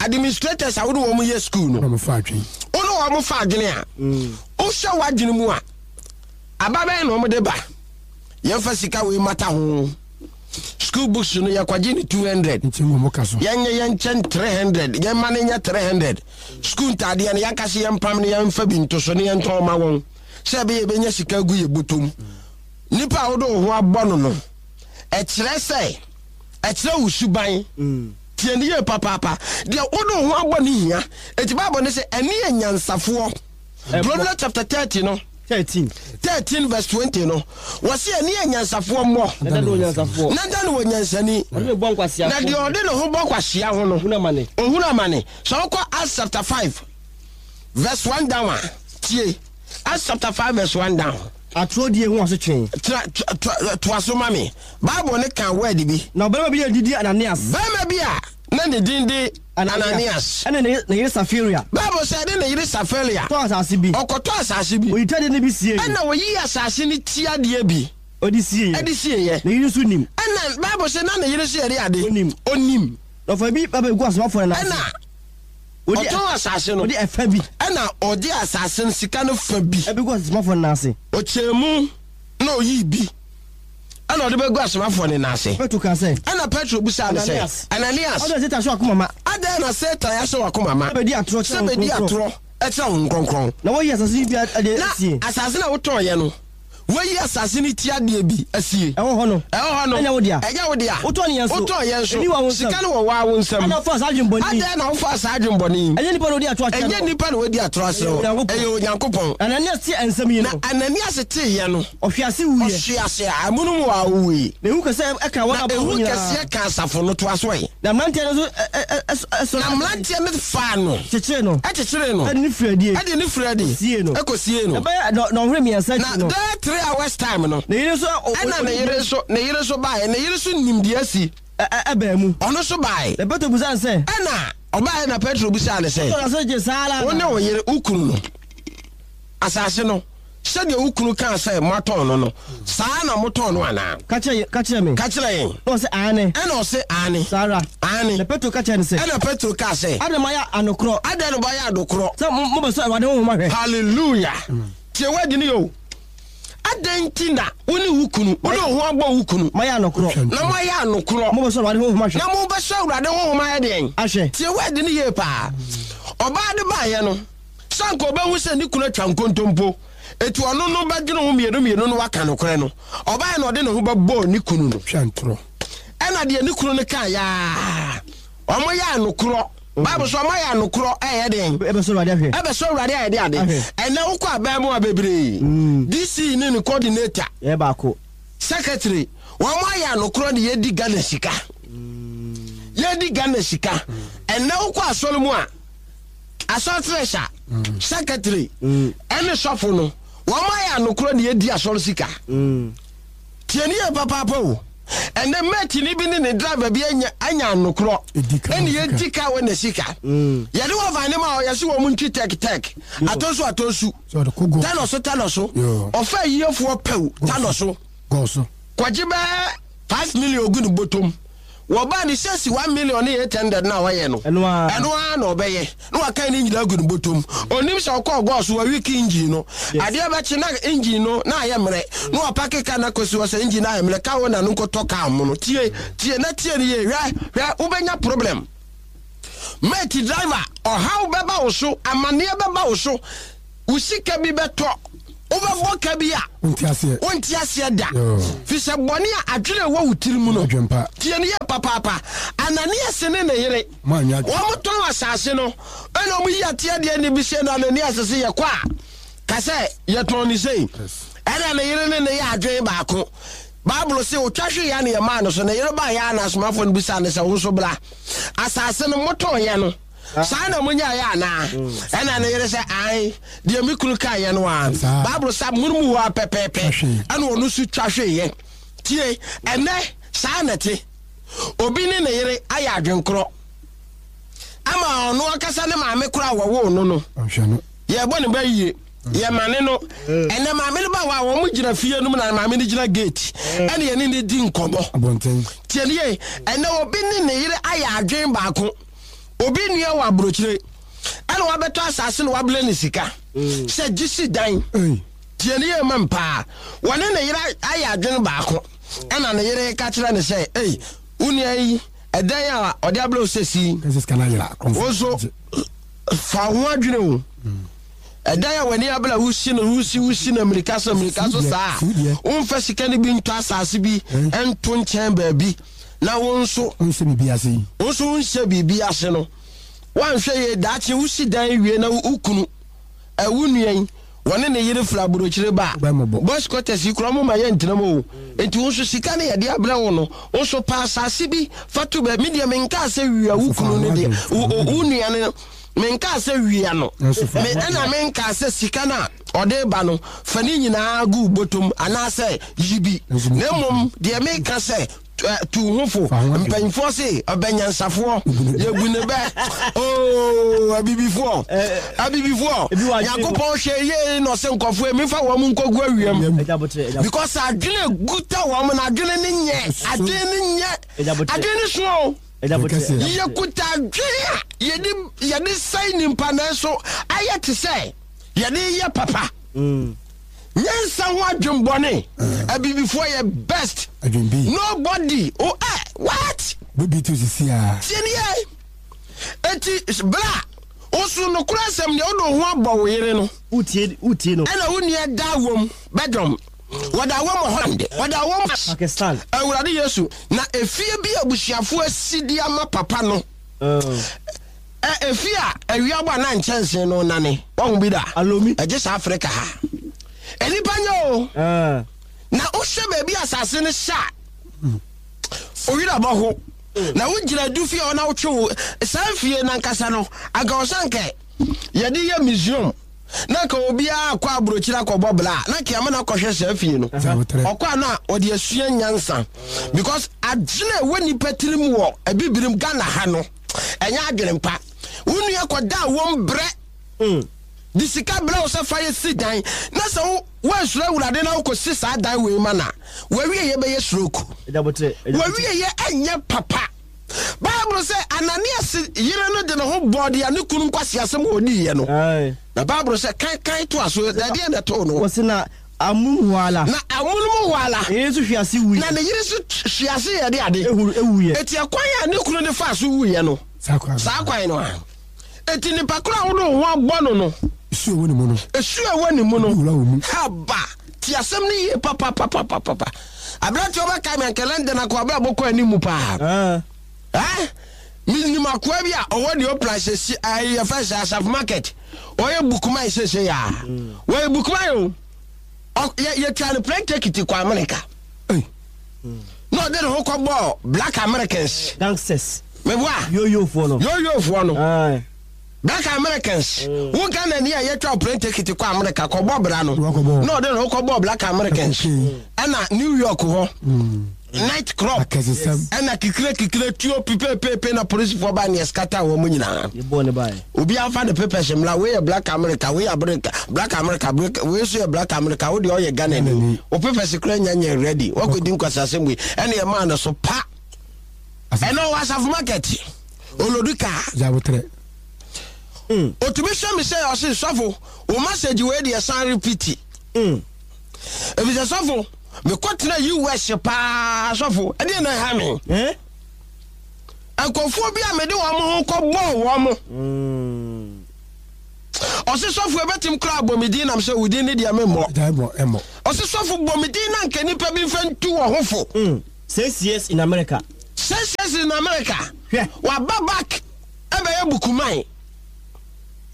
administrators a wo ne wɔn yɛ school no, Na mo fa atwen. Wo ne wɔn fa adwene a, wohyɛ w'adwene mu a, aba bɛyɛ na wɔn de ba, yɛmfa sika wei mata ho, school books no yɛkɔgye ne two hundred, Nti ngu mo ka so. Yɛnyɛ yɛnkyɛn three hundred, yɛma no nyɛ three hundred. School ntaadeɛ no, yɛnkase yɛmpam no, yɛmfa bi nto so ne yɛntɔn ma wɔn sɛ ɛbɛyɛ yɛbɛnya sika gu yɛ bɔtɔm. Nipa a wode wo ho abɔ no no, ɛkyerɛ sɛ ɛkyerɛ wo suban. Tie ne yie papaapa, deɛ wode wo ho abɔ no hia. Enti Bible ne sɛ ɛne yɛ nyansafoɔ. Proverbs chapter thirty no, Thirteen. thirteen verse twenty no, wɔse ɛne yɛ nyansafoɔ mmɔ. Na dane wɔ nyansafoɔ. Na dane wɔ nyansani. Ɔde ne bɔ nkwasiafoɔ. Na deɛ ɔde ne ho bɔ kwasea ho no, Ohunu amane. Ohunu amane. Sɛ wokɔ Acts chapter five verse one down a, tie, Acts chapter five verse one down. Atorɔ die ho asotwe. Tra to- toa so ma me. Bible ne ka word bi. Na ɔbarima bi a didi Ananias. Bɛrima bi a na ne din de Ananias. Ɛne ne ne yere Safiria. Bible sɛ ɛne ne yere Safiria. Tɔɔ asase bi. Ɔkɔtɔ asase bi. Oyi tiadeɛ no bi sie. Ɛna oyi asase no tiadeɛ bi. Ɔde sie. Ɛde sieɛ. Ne yere nso nim. Ɛna Bible sɛ na ne yere nso yɛde ade. Onim. Onim. Na ɔfa bi ba bɛgu asomafoɔ no nan ase. Ɛna Ɔde ɔtɔn asase no. Ɔde ɛfa bi. Ɛna ɔde asase no sika no fa bi. Ɛbɛgu asomafoɔ no nan ase. Ɔkyɛɛ mu na ɔyii bi ɛna ɔde bɛgu asomafoɔ no nan ase. Petro ka sɛ. Ɛna Petro busaa no sɛ, Ananias. Ananias, ɔde Satan ahyɛ w'akoma ma. Adɛn na Satan ahyɛ w'akoma ma sɛ bɛdi atorɔ sɛ kyerɛ bɛdi Honhom Kronkron. atorɔ ɛkyerɛ Honhom Kronkron? Na wɔyi asase yi bi ade Na asie. asase no a wotɔnyɛ no, Woayi asase no ti adeɛ bi asie. Ɛwɔ hɔ no. Ɛwɔ hɔ no. Ɛnyɛ wo dea. Ɛnyɛ wo dea. Wotɔn yɛn nso. Wotɔn yɛn nso. Ebi wɔ wo nsam. Sika no wɔ wo ara wo nsam. Adɛn na wofaa saa adwemmɔne yi? Adɛn na wofaa saa adwemmɔne yi? Ɛnyɛ nnipa na wɔdi atorɔ akyerɛ Ɛnyɛ no. nnipa na wɔadi atorɔ akyerɛ wo. Ɛyɛ Onyankopɔn. Ɛyɛ Onyankopɔn. Na Ananias tee nsɛm yi no. Na Ananias teeɛ no. Ɔhwee ase wuiɛ. Ɔhwee ase amonom hɔ ara ɔwuiɛ. Na ehu kɛseɛ kaa wɔn a Na wɔwɔ hɔ ehu nyinaa. kɛseɛ kaa asafo no. Toa so ɛ. Na mmeranteɛ no nso sɔre. Na mmeranteɛ no faa no. Kyekyeree no. Kyekyeree no. De no firii adie. De no firii adi. Kɔsiee no. Kɔsiee no. Ɛbɛyɛ dɔnhwere mmiɛnsa akyi no. Na bɛyɛ three hours time no. Ne yere nso. Ɛna ne yere nso, ne yere nso baeɛ. Ne yere nso nim deɛ asi. Ɛbaa mu. Ɔno nso baeɛ. Na Petro bisaa no sɛ. Ɛna ɔbaeɛ na Petro bisaa no sɛ. Wotɔɔ n'ase gye saa ara Wo ne anaa? wo yere, wo kunu no, asase no, sɛdeɛ wo kunu kaa sɛ moatɔn no no, saa ara na motɔn no anaa? Ka kyerɛ, ka kyerɛ me. Ka kyerɛ yɛn. Na ɔse, Aane. Ɛna ɔse, Aane. Saa ara. Aane. Na Petro ka kyerɛɛ no sɛ. Ɛna Petro kaa sɛ. Adɛn na moayɛ anokorɔ? Adɛn na moayɛ adokorɔ? Sɛ mobɛsɔ Awurade Honhom ahwɛ? Hallelujah! Tie word no yie o. Adɛn nti na wo ne wo kunu, wode wo ho abɔ wo kunu. Moayɛ anokorɔ. Na moayɛ anokorɔ. Mobɛsɔ Awurade Honhom ahwɛ. Na mobɛsɔ Awurade Honhom ayɛ deɛn? Ahwɛ. Tie word no yie paa. Ɔbaa no baeɛ no, sɛ anka ɔbɛhu sɛ ne kunu atwa nkontompo, enti ɔno no bɛdwene ho mmienu mmienu na waka nokorɛ no, ɔbaeɛ na ɔde ne ho bɛbɔɔ ne kunu no. Twa ntorɔ. Ɛna deɛ ne kunu no kaeɛ ara, wɔyɛ anokorɔ. Bible sɛ wɔayɛ anokorɔ ɛyɛ den. Ɛbɛsɔ Awurade ahwɛ. Ɛbɛsɔ Awurade ayɛ de ade. Ɛnɛ wokɔ aban mu a bebree, D C ne ne coordinator, Yɛ baako. Secretary, wɔn ayɛ anokorɔ de yɛdi Ghana sika. Yɛdi Ghana sika. Ɛnɛ wokɔ asɔre mu a, asɔre treasure, secretary, ɛne sɔfo no, wɔn ayɛ anokorɔ de yɛdi asɔre sika. Tie ne yie papaapa o. Ɛnɛ mɛtini bi ne ne driver bi anya anya anokorɔ ɛne yɛdi ka wɔ ne sika. Yɛde wɔ van ne ma ɔyɛ so wɔn ntwi tɛk tɛk atɔnsu atɔnsu tanɔ so tanɔ so ɔfɛ yiefoɔ pɛw tanɔ so kɔgye bɛɛ five million gu ne bɔtɔm. Wɔbaa ne sɛsi one million ne eight hundred na ɔyɛ no Ɛno ara. ɛno ara na ɔbɛyɛ na wakan ne nyinaa gu ne bɔtɔm. Onim sɛ ɔkɔɔ gɔɔ so wawiki engine no, adeɛ bɛkye na engine no na ayɛ mmerɛ na wapake car no akɔsi hɔ sɛ engine no ayɛ mmerɛ car owner no nkɔtɔ car mono. Tie tie na tie no yie, hwɛ hwɛ wobɛnya problem. Mate driver, ɔhaw bɛba wo so, amaneɛ bɛba wo so, wo sika bi bɛtɔ, wobɛbɔ ka bi a Wonte aseɛ. wonte aseɛ da. Yoo. Fi sɛ bɔne a adwene a ɛwɔ wo tiri mu no, Adwempa. tie no yie papaapa. Ananias ne ne yere, Moanyɛ adwene. wɔn tɔn asase no, ɛna wɔn yi ateɛ deɛ ne bi hyɛ no Ananias se yɛkɔ a, ka sɛ yɛtɔn ne sei. Yes. Ɛna ne yere ne ne yɛ adwene baako. Bible se otwa hwee ya ne yɛmaa no so, ne yere baeɛ a na asomafoɔ no bisaa no sɛ, wo nso bra. Asase no motɔn yɛ no, saa na monyaeɛ anaa? Ɛna ne yere sɛ, ae, deɛ me kunu kaeɛ no ara. Saa. Bible sɛ amonom hɔ ara pɛpɛɛpɛ Twa hwee. ɛna ɔno nso twa hweeɛ. Tie, ɛnɛ saa na ɛte. Obi ne ne yere ayɛ adwenkorɔ ama ɔno ankasa ne maame koraa a wɔwoo no no. Ɔnhwɛ no. Yɛbɔ ne ba yie, yɛmane no. Ɛnɛ maame no ba hɔ a, wɔn gyina fie no mu na maame no gyina gate ɛne yɛne no di nkɔmmɔ. Abɔnten. Tie ne yie, ɛnɛ obi ne ne yere ayɛ adwen baako. Obi nua wɔ aburokyire ɛna wabɛtɔ asase na wabrɛ ne sika sɛ gye si dan. Ei. Tie ne yie ma mpaa. Wɔne ne yere ayɛ adwen baako ɛna ne yere ka kyerɛ ne sɛ, ei, wo nua yi ɛdan a ɔde abrɛ wo sɛ si. Kɛsɛ sika no ayera. Wo nso fa wo ho adwene o. Ɛdan a w'ani abere a wosi no, wosi, wosi no mmirika so, mmirika so saa a, womfa sika no bi ntɔ asase bi nto nkyɛn baabi na wo nso Wonhyɛ biribi ase yi. Wo nso wonhyɛ biribi ase no, woanhwɛ yie daakye wosi dan wie na wo kunu, ɛ, wo nua yi, wɔne ne yere firi aburokyire ba a, Wobɛmmɔbɔ. boys quarters yi koraa wɔmma yɛntena mu o. Enti wo nso sika no yɛde abrɛ wo no, wo nso pɛ asase bi fa to baabi. Me deɛ menkaa sɛ wia wo kunu no deɛ, wo, wo, wo nua no, menkaa sɛ wia no. Nanso fa Me, ɛna menkaa sɛ sika no a ɔde ba no, fa ne nyinaa gu wo bɔtɔm anaasɛ yi bi. Nanso me Na mmom deɛ meka sɛ, tu ho fo. Fa ho adwene. Mpanyinfoɔ se ɔbɛnyansafoɔ yɛbu ne bɛ. Oo, abibifoɔ, abibifoɔ, Ebi wɔ adwene mu. Nyankopɔn hwɛ yie na ɔsɛ nkɔfoɔ emi fa wɔn nkɔgu awiam. Awiam. Agya botere, agya Because adwene guta wɔn na adwene ne nyɛ, adwene ne nyɛ, Agya botere. adwene ne so o. Agya botere, Kɛseɛ. agya botere. Yɛkuta adwene a yɛde, yɛde sɛe nipa nanso ayɛ te sɛ yɛde yɛ papa. Mm. Nyansa ho adwembɔne. Abibifoɔ yɛ best. Adwembi. Nobody. Oh, eh, what? Bibi tu sisi a. Tie ne yɛ. Eti bra, woso nokora asɛm deɛ wode wo ho abɔ wo yere no. Wotie, wotie no. Ɛna wo nua da wom bɛdɔm. Wɔde awɔ mu Holland, wɔde awɔ mu Pakistan. Awurade Yesu, na efie bi abusuafoɔ asi de ama papa no. Ɛ efie a awia bɔ a na nkyɛnsee no nane. Wahu bi da? Alomi. Ɛgye saa Africa ha. Nnipa nyɛ o. Ah. Na wohwɛ baabi a asase no hyɛ a, owira bɔ ho. Na wogyina du fie hɔ na wotwe wo saa fie nankasa no, anka ɔsɛ anka yɛde yɛ museum na anka obiara akɔ aburokyire akɔbɔ bla na anka yɛama no akɔhwɛ saa fie no. Ɔkɔ a na ɔde asua nyansa, because adwene a ɛwɔ nipa tirim wɔ abibirim Ghana ha no ɛnyɛ adwene mpa. Wo nua kɔda a wɔm brɛ de sika brɛ wo sɛ fa yɛ si dan, na sɛ wo woansuro Awurade na wokɔsi saa dan wei ma na wawie yɛ bɛyɛ stroke. Wawie yɛ ɛnyɛ papa. Bible sɛ Ananias yere no de ne ho bɔɔ deɛ ne kunu nkwasi asɛm a ɔdiiɛ no. Na Bible sɛ kan kan to aso dadeɛ na ɛtoo no. Wɔsi na amunum hɔ ala. Na amunum hɔ ala. Ne yere nso hwe ase wuiɛ. Na ne yere nso hwe ase yɛ de ade. Ehu ewuiɛ. Eti ɛkwan a ne kunu de fa so wuiɛ no. Saa kwan Saa kwan no a. Eti nipa koro a wode wo ho abɔ no no. Esu a ɛwɔ ne mu no. Esu a ɛwɔ ne mu no. Wura wɔ mu. Haba ti asɛm no yie papapapapapa. Aberanteɛ ɔbɛka mi anka London akɔ abɛ abɔkɔ anim paa. Ɛ minim akoa bi a ɔwɔ deɛ ɔpla sɛsi ɛyɛ yɛfɛ sɛ Asafo Market, ɔyɛ bookman sɛsɛ yaa, wɔyɛ bookman o. Ɔ yɛ yɛtwa no plane ticket kɔ America na ɔde ne ho kɔ bɔɔ Black Americans. Gangsters. Meboa. Yoyofoɔ no. Yoyofoɔ no. Black Americans. Wo Ghana ni a yɛtwa plane ticket kɔ America kɔbɔ bra no na ɔde ne ho kɔ bɔɔ Black Americans ɛna New York hɔ night club ɛna kikire kikire tuo pipepepe na polisifoɔ ba neɛ scatter wɔn mu nyinaa. Obi afa ne papers mmla, wei yɛ Black America, wei yɛ America, Black America, wei nso yɛ Black America, wo deɛ ɔyɛ Ghana ni, o papers kura nya nyɛ ready, wakɔdi nkwasasɛm wei ɛna yɛ maa no so pa. Ɛna ɔwɔ Asafo Market olodu kaa. Otumi hwɛ mi sɛ ɔse sɔfo wo message wei deɛ san repeat. Efisɛ sɔfo mekɔtena U S paa, sɔfo ɛdeɛ na ɛha me nkurɔfoɔ bi a mede wɔn ho kɔbɔɔ wɔn mo. Ɔse sɔfo ɛbɛtim koraa bɔ me din, nam sɛ wo din ne deɛ memmɔ. Ɔse sɔfo bɔ me din na nka nnipa bi mfa ntu wɔ ho fo. Six years in America. Six years in America. Waba back ɛbɛyɛ bookman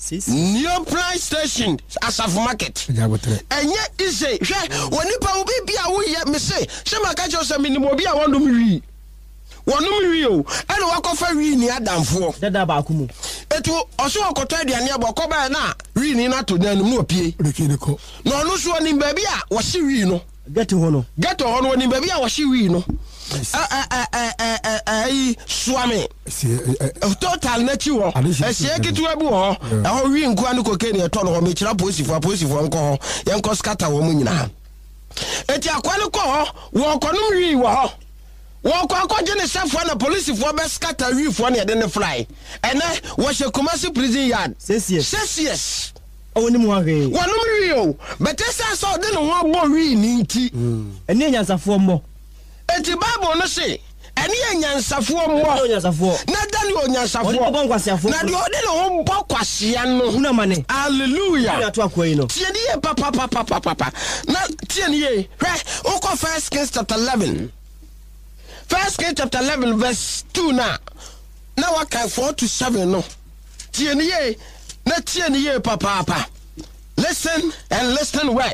Neoplan station, Asafo Market. Ɛnyɛ ise hwɛ wɔ nipa wo bi bi a woyɛ mese sɛ maka kyerɛ sɛ menim obi a wɔnom wii, wɔnom wii o, ɛna wakɔfa wii ni adamfoɔ. Dada baako mu. Etu ɔso ɔkɔtɔ aduane abɔ ɔkɔbaa na wii ni no ato dan no mu na ɔpie na ɔno nso ɔnim baabi a wɔhye wii no. Ghetto hɔ no. Ghetto hɔ no, ɔnim baabi a wɔhye wii no. Ɛyi Suame Total n'akyi hɔ, ɛhyɛ ketewa bi wɔ hɔ, ɛhɔ wii nkoa ne cocaine ɛtɔ no hɔ. Mekyerɛ apolisifoɔ, apolisifoɔ nkɔ hɔ, yɛnkɔ scatter wɔn mu nyinaa. Eti akoa no kɔ hɔ, wɔkɔnom wii wɔ hɔ, wɔkɔ akɔgye ne sɛfoɔ na polisifoɔ bɛ scatter wiifoɔ ne yɛde ne fly. Ɛnɛ wɔhyɛ Kumasi prison yard. Six years. Six years. Ɔwɔ ne mu ahwee. Wɔnom wii o, bɛtɛ sɛ sɛ ɔde ne ho abɔ wii ne nti. Ɛne anyansafoɔ mmɔ. Eti Bible no se ɛne anyansafoɔ mmɔ na da ne onyansafoɔ na deɛ ɔde ne ho bɔ kwasea no. Hallelujah. Tie ne yie papapapapapa na tie ne yie. Hwɛ, wokɔ First Kings chapter eleven, First Kings chapter eleven verse two na na waka four to seven no. Tie ne yie na tie ne yie papaapa. Listen and listen well.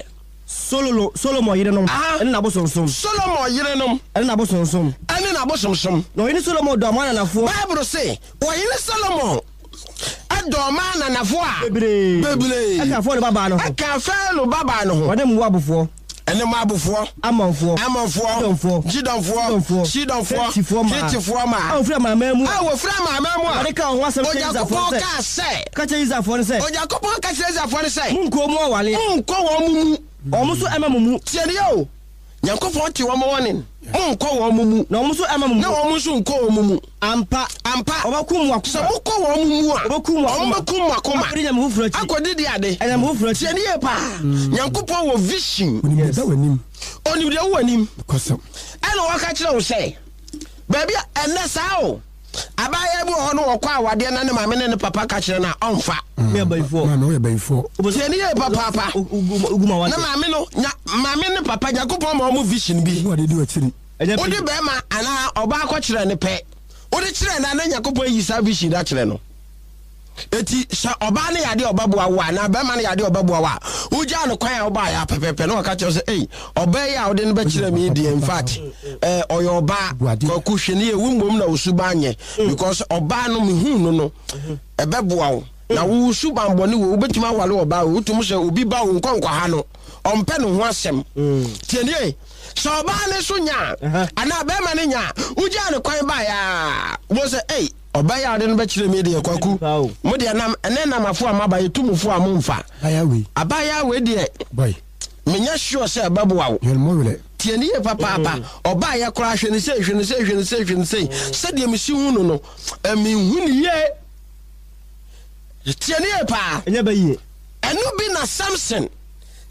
Sololo Solomon yerenom ɛne n'abosonsom. Solomon yerenom ɛne n'abosonsom. Ɛne n'abosomsom. Na ɔhene Solomon dɔ ɔman ananafoɔ. Bible se ɔhene Solomon ɛdɔ ɔman ananafoɔ a bebree. Bebree. Ɛka Farao babaa no ho. Ɛka Farao babaa no ho. Ɔne Moabfoɔ. Ɛne Moabfoɔ. Amonfoɔ. Amonfoɔ. Sidonfoɔ. Sidonfoɔ. Sidonfoɔ. Hetifoɔ maa. Hetifoɔ maa. A wɔfiri amanaman mu. A wɔfiri amanaman mu a. Awurade ka wɔn ho asɛm kyerɛ Israelfoɔ Onyankopɔn sɛ. kaa sɛ. Ka kyerɛ Israelfoɔ no sɛ. Onyankopɔn ka kyerɛ Israelfoɔ no sɛ. Monkɔ mu awale. Monkɔ wɔn mu mu. Wɔn nso ɛma mo mu. Tie ne yɛ o. Nyankopɔn te wɔn wɔne. Monkɔ wɔn mu mu. Na wɔn nso ɛma mo mu. Na wɔn nso nkɔ wɔn mu mu. Ampa. Ampa. Wɔbɛkum mo akoma. Sɛ mokɔ wɔn mu mu a. Wɔbɛkum mo akoma. Wɔn bɛkum mo akoma. Akɔdi nyame foforɔ akyi. Akɔdi di ade. Ɛnyame foforɔ akyi. Tie ne yie paa. Nyankopɔn wɔ vision. Onim deɛ da w'anim. Onim deɛ wɔ anim. Kɔsɛm. Ɛna wɔka kyerɛ wo sɛ baabi a ɛnɛ saa o. Abaayewa bi wɔ hɔ no, wɔkɔ awadeɛ na ne maame ne ne papa ka kyerɛ no a, ɔmfa. Me abayifoɔ. Maame, woyɛ bayifoɔ. Tie ne yie papaapa. Ogu ma Na wate. maame no nya, maame ne papa, Nyankopɔn ma ɔmo vision bi. Ne wade di w'akyiri. Ɛnyɛ wode pɛ. Bɛrima anaa ɔbaa kɔkyerɛ ne pɛ, wode kyerɛ no a, na Nyankopɔn ayi saa vision no akyerɛ no. Eti sɛ ɔbaa no yɛ adeɛ a ɔbɛboa wo a, anaa bɛrima no yɛ adeɛ a ɔbɛboa wo a, wogyaa no kwan a wobaeɛ a pɛpɛpɛ na wɔka kyerɛ wo sɛ, ei, ɔbaa yi a wode no bɛkyerɛ me yi deɛ, in fact, eh, ɔyɛ ɔbaa. Buade. Kwaku, hwɛ ne yɛ wo mmom na wo suban nyɛ, because ɔbaa no mehu no no ɛbɛboa wo na wo suban bɔne wɔ, wobɛtumi awale ɔbaa wo, wotum sɛ obi ba wo nkɔ nkɔha no, ɔmpɛ ne ho asɛm. Tienie, sɛ ɔbaa ne so nya a, Aha. anaa bɛrima no nya a, wogyaa ne kwan baeɛ a, wo sɛ, ei, ɔbaa yi a wode no bɛkyerɛ me deɛ, Kwaku, Paa o. mo deɛ nam ɛnɛ namafo a maba yɛtumufo a momfa Baya wei. Abaayewa wei deɛ, Boy. menyɛ sure sɛ ɛbɛboa wo. Yɛn mo werɛ. Tie ne yie papaapa. Ɔbaayɛ koraa, hwɛ ne sei, hwɛ ne sei, hwɛ ne sei, hwɛ ne sei, sɛdeɛ mesi hu no no, menhu ne yie. Tie ne yie paa. Ɛnyɛ bɛ yie. Ɛno bi na Samson,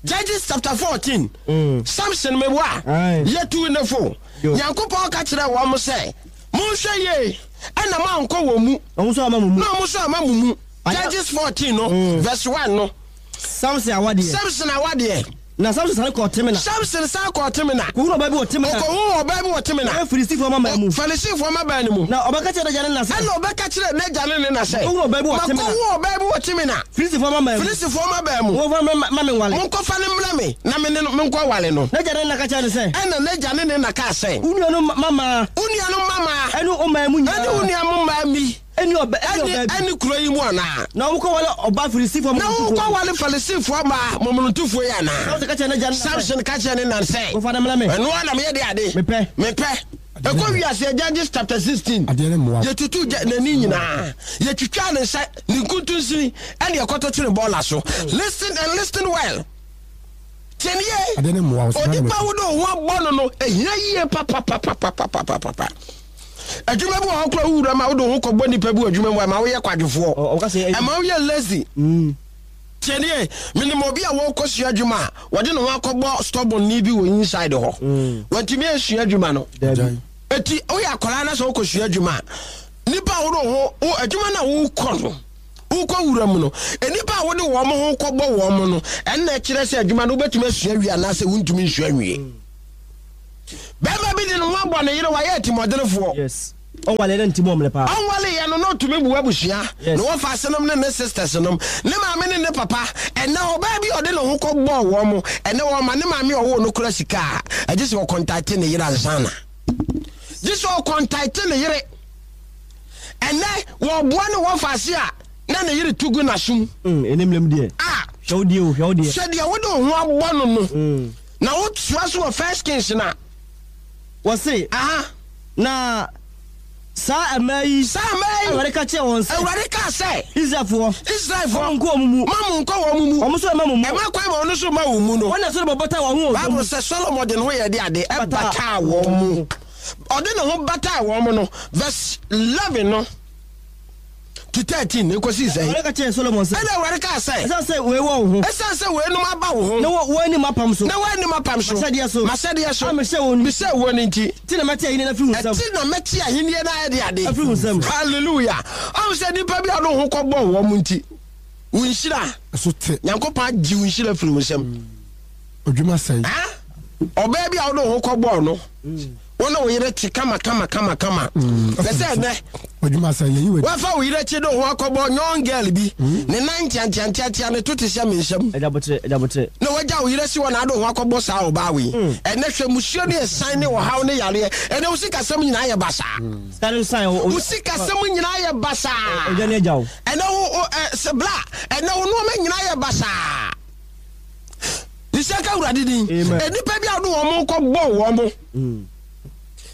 Judges chapter fourteen, Mm. Samson meboa. Aye. Yɛtu ne fo. Yo. Nyankopɔn ka kyerɛ wɔn sɛ, monhwɛ yie ɛna moankɔ wɔn mu. Ɔmo nso ama mo mu. Na ɔmo nso ama mo mu. Aya- Judges fourteen no, Mm. verse one no. Samson awadeɛ. Samson awadeɛ. Na Samson sane kɔɔ Timna. Samson san kɔɔ Timna. Kɔhunu ɔbaa bi wɔ Timna. Ɔkɔhu ɔbaa bi wɔ Timna. Ɔyɛ Filistifoɔ mmammaa mu. Filistifoɔ mmabaa no mu. Na ɔbɛka kyerɛ n'agya ne na sɛ. Ɛna ɔbɛka kyerɛ n'agya ne ne na sɛ. Makɔhu ɔbaa bi wɔ Timna. Makɔhu ɔbaa bi wɔ Timna. Filistifoɔ mmammaa mu. Filistifoɔ mmabaa mu. Momfa no ma me nwale. Monkɔfa no mmrɛ me na me ne no menkɔ wale no. N'agya ne ne na ka kyerɛ no sɛ. Ɛna n'agya ne ne na kaa sɛ. Wo nuanom mmammaa. Wo nuanom mmammaa. Ɛne wo man mu nyinaa. Ɛne wo nuanom mmaa mi. Ɛne ɔbaa ɛne ɔbaa bi. Ɛne kuro yi mu anaa? Na wokɔwale ɔbaa Filistifoɔ Na wokɔwale Filistifoɔ mmaa momonotofoɔ yi anaa? Samson ka kyerɛ n'agya ne na sɛ. Samson ka kyerɛ ne na sɛ. Momfa no mmrɛ me. Ɛno ara na meyɛ de ade. Mepɛ. Mepɛ. Ɛkɔ wiase, Judges chapter sixteen. Adeɛ ne mmoa. Yɛtutu n'ani nyinaa. Yɛtwitwaa ne nsa, ne nkuntunsini, ɛne ɛkɔtɔ twene bɔɔla so. Listen and listen well. Tiɛnie. Adeɛ ne mmoa. Onipa wo de wo ho abɔ no no, ehia yie papapapapapapa. Adwuma bi wɔ hɔ koraa, wowura ma wode wo ho kɔbɔ nipa bi wɔ adwuma mu a, ɛma woyɛ kwadwofoɔ, ɛma woyɛ lazy. Tiɛnie, menim obi a wɔrekɔsua adwuma a, wɔde ne ho akɔbɔ stubborn ni bi wɔ inside hɔ. Wantumi ansua adwuma no. Eti woyɛ akwaraa na sɛ wokɔsua adwuma a, nipa a wode wo ho wo adwuma no a wokɔ no, wokɔ wura mu no, nipa a wode wɔn ho kɔbɔ wɔn no, ɛnna ɛkyerɛ sɛ adwuma no wobɛtumi asua wie anaasɛ wontumi nsua nwie. Bɛrima bi de ne ho abɔ ne yere, wayɛ atimɔdenefoɔ. Yes. Ɔnwale ne nti mɔmle paa. Ɔnwale yɛ no na ɔtumi bu abusua. Yes. Ne wɔfa asenom ne ne sisters nom, ne maame ne ne papa. Ɛnɛ ɔbaa bi a ɔde ne ho kɔ bɔɔ wɔn mo, ɛnɛ wɔma ne maame a ɔwɔ no kura sika a, ɛgye sɛ ɔkɔntate ne yere ansana, gye sɛ ɔkɔntate ne yere. Ɛnɛ wɔboa ne wɔfa ase a, na ne yere tu gu n'asom. Mm, ɛnim lem deɛ. A Hwɛ wo deɛ o, hwɛ wo deɛ. Hwɛ deɛ wode wo ho abɔ no no. Mm. Na wotoa so wɔ First Kings na Wɔse. Aha. Na saa mmaa yi. Saa mmaa yi. Awurade ka kyerɛ wɔn sɛ. Awurade kaa sɛ. Israelfoɔ. Israelfoɔ. Mo nkɔ wɔn mu. Ma mo nkɔ wɔn mu. Wɔn nso ɛma mo mu. Ɛma kwan ma wɔn nso ma wɔn mu no. Wɔn na Solomon bata wɔn ho wɔ Bible sɛ Solomon de ne ho yɛ de ade ɛbataa wɔn mu. Ɔde ne ho bataa wɔn mu no, verse eleven no to thirteen ekosi sɛ. Awurade ka kyerɛ Solomon sɛ. Ɛna Awurade kaa sɛ. Ɛsiane sɛ wei wɔ wo ho. Ɛsiane sɛ weinom aba wo ho. Na wɔn anim apam so. Na wɔn anim apam so. M'ahyɛdeɛ so. M'ahyɛdeɛ so. A mehyɛ wɔn. Mehyɛ wɔn nti. Ti na mɛte ahenni no afiri wo nsam. Ɛti na mɛte ahenni no ayɛ de ade. Afiri wo nsam. Hallelujah. Ɔn sɛ nipa bi a ɔde wo ho kɔbɔ wɔn nti, wo nhyira. Ɛso te. Nyankopɔn agye wo nhyira firi wo nsam. Odwuma sɛe. Ɔbaa bi a wode wo ho kɔbɔɔ no, wo ne wo yere te kama kama kama kama. Pɛ sɛ ɛnɛ Odwuma sɛe yɛyi wadi. wafa wo yere akyi de wo ho akɔbɔ young girl bi, ne nan ntiantiantiatia, ne to te sɛ me nsam. Ɛgya botere, ɛgya botere. Na wagya wo yere si hɔ na ade wo ho akɔbɔ saa ɔbaa wei. Ɛnɛ hwɛ, musuo ne ɛsan ne ɔhaw ne yareɛ. Ɛnɛ wo sikasɛm nyinaa yɛ basaa. Sika no san o. Wo sikasɛm nyinaa yɛ basaa. Ɔgya ne agya wo. Ɛnɛ wo wo ɛ sɛ bla, ɛnɛ wo nneɛma nyinaa yɛ basaa. Nisɛ ka Awurade din. Amen. Nnipa bi a wode wɔn kɔ bɔ wɔn mo.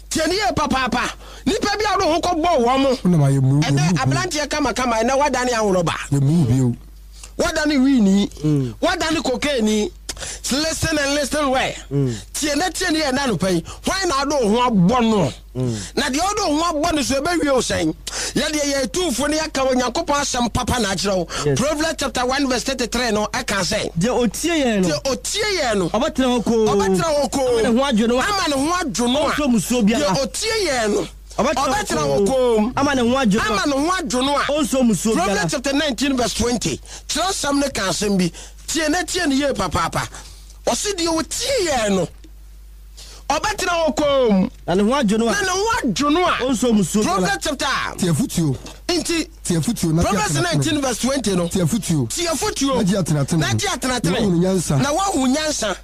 Tie ne yie papaapa. Nnipa bi a wode wɔn kɔ bɔ wɔn mo. Wonam ayɛ mu. Ɛnɛ aberanteɛ kamakama, ɛnɛ wadane ahorɔba. Yɛ mu bio. Wadane wiini. Wadane kokaini. Listen and listen well. Tie na tie ne yɛ ɛna anɔpa yi. Hwan na ade wo ho abɔ no? Na deɛ ɔde wo ho abɔ no so, ɛbɛwie wo sɛn? Yɛdeɛ yɛ atuufo ne yɛka Onyankopɔn asɛm papa na akyerɛ wo. Yes. Proverbs chapter one verse thirty-three no ɛka sɛ. Deɛ otie yɛn no. Deɛ otie yɛn no. Ɔbɛtena hɔ koo. Ɔbɛtena hɔ koo. Ama ne ho adwo no a. Ama ne ho adwo no a. Ɔnsuro musuo biara. Deɛ otie yɛn no, Ɔbɛtena hɔ komm. Ama ne ho adwo no a. Ama ne ho adwo no a. Ɔnsɔ mmusuo biara. Proverbs chapter nineteen verse twenty, kyerɛwsɛm no ka asɛm bi. Tie na tie no yie papaapa. Ɔse deɛ ɔtie yɛn no, ɔbɛtena hɔ komm. Na ne ho adwo no a. Na ne ho adwo no a. Ɔnsɔ mmusuo biara. Proverbs chapter. Tie afotuo. Nti. Tie afotuo na gye Proverbs atenatene. nineteen verse twenty no. Tie afotuo. Tie afotuo. Na gye atenatene. Na gye atenatene. Na woahunu nyansa. Na woahunu nyansa.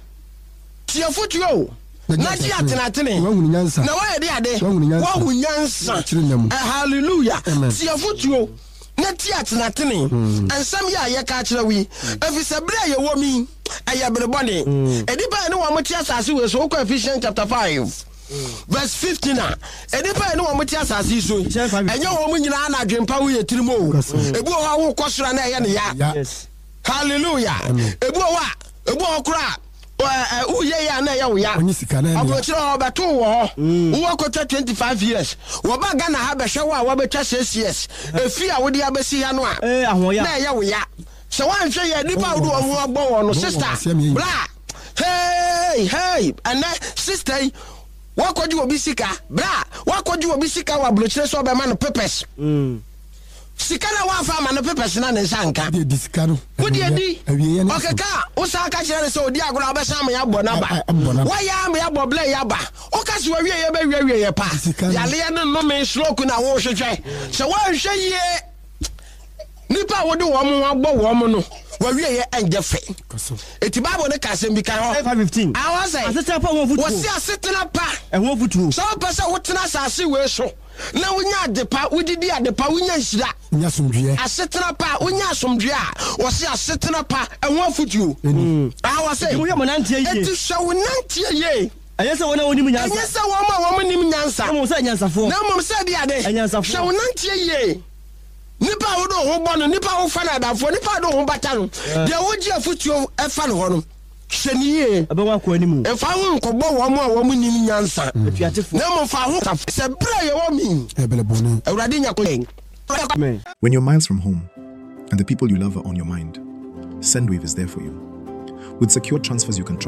Tie afotuo o. Na gye atenatene. Na woahunu nyansa. Na woayɛ de ade. Woahunu nyansa. Woahu nyansa. Akyiri nna mu. Eh, hallelujah. Amen. Tie afotuo na tie atenatene. Nsɛm yi a yɛka akyerɛ wo yi, ɛfiri sɛ berɛ a yɛwɔ mu yi, ɛyɛ bere bɔne. Nnipa a yɛne wɔn te asase wei so, wokɔ Ephesians chapter five verse fifteen a, nnipa a yɛne wɔn te asase yi so yi, ɛnyɛ wɔn nyinaa na adwempa wo yɛ tirim o. Ebi wɔ hɔ a wokɔ soro a na ɛyɛ ne ya. Yes. Hallelujah. Ebi wɔ hɔ a, ebi wɔ hɔ koraa a, woyɛ yɛ a na ɛyɛ wo ya. Ɔnye sika na ɛyɛ ne ya. Aburokyerɛ hɔ ɔbɛto wɔ hɔ. Wowɔ kɔtwa twenty five years. Wɔba Ghana ha bɛhwɛ wo a wɔabɛtwa six years. Efi a wode abɛsi ha no a, Eh, ahoɔya. na ɛyɛ wo ya. Sɛ woanhwɛ yɛ nipa a wode wɔn ho abɔ wɔn no, sister, bra. Hey, hey, ɛnɛ sister yi, wakɔgye obi sika, bra, wakɔgye obi sika wɔ aburokyerɛ sɛ ɔbɛma no papers. Mm. Sika na wafa ama no papers na ne nsa nka. Wode adi sika no. Wode adi. Awieɛ ne Ɔkeka a, wosan ka kyerɛ no sɛ ɔdi agorɔ a wobɛsan ama yɛabɔ no aba. A- a- abɔ no aba. Woayɛ ama yɛabɔ blɛ yɛ aba. Woka sɛ wawie yɛ bɛwie awie yɛ pa. Sika no. Yaleɛ ne nnome stroke na wohwehwɛ. Sɛ woanhwɛ yie, nipa a wode wɔn ho abɔ wɔn no, wawie yɛ ɛnyɛ fɛ. Kɔso. Eti Bible no ka asɛm bi ka hɔ. Five fifteen. Awɔ sɛ. Asetena pa ho afotuo. Wɔsi asetena pa. Ɛho afotuo. Sɛ wopɛ sɛ wotena asase wei so na wonya ade pa, wodidi ade pa, wonya nhyira. Nya asomdwoeɛ. Asetena pa, wonya asomdwoeɛ a, wɔsi asetena pa ɛho afotuo. Awɔ sɛ. Enti mohwɛ mo nanteɛ yie. Eti hwɛ wo nanteɛ yie. Ɛnyɛ sɛ wɔn a wɔnim nyansa. Ɛnyɛ sɛ wɔn a wɔn nim nyansa. Na mmom sɛ anyansafoɔ. Na mmom sɛ de ade. Anyansafoɔ. Hwɛ wo nanteɛ yie. Nipa a wode wo ho bɔ no, nipa a wofa no adamfoɔ, nipa a wode wo ho bata no, deɛ wogye afotuo ɛfa no hɔ no, hwɛ ne yie. Ɛbɛwɔ akɔ anim. Mfa ho nkɔbɔ wɔn a wɔn nim nyansa. Atuatefoɔ. Na mmom fa ho sɛ berɛ a yɛwɔ mi. Ɛbɛlɛ bɔne. Awurade nya yɛn. Amen. When you're miles from home and the people you love are on your mind, Sendwave is there for you. With secure transfers you can trust.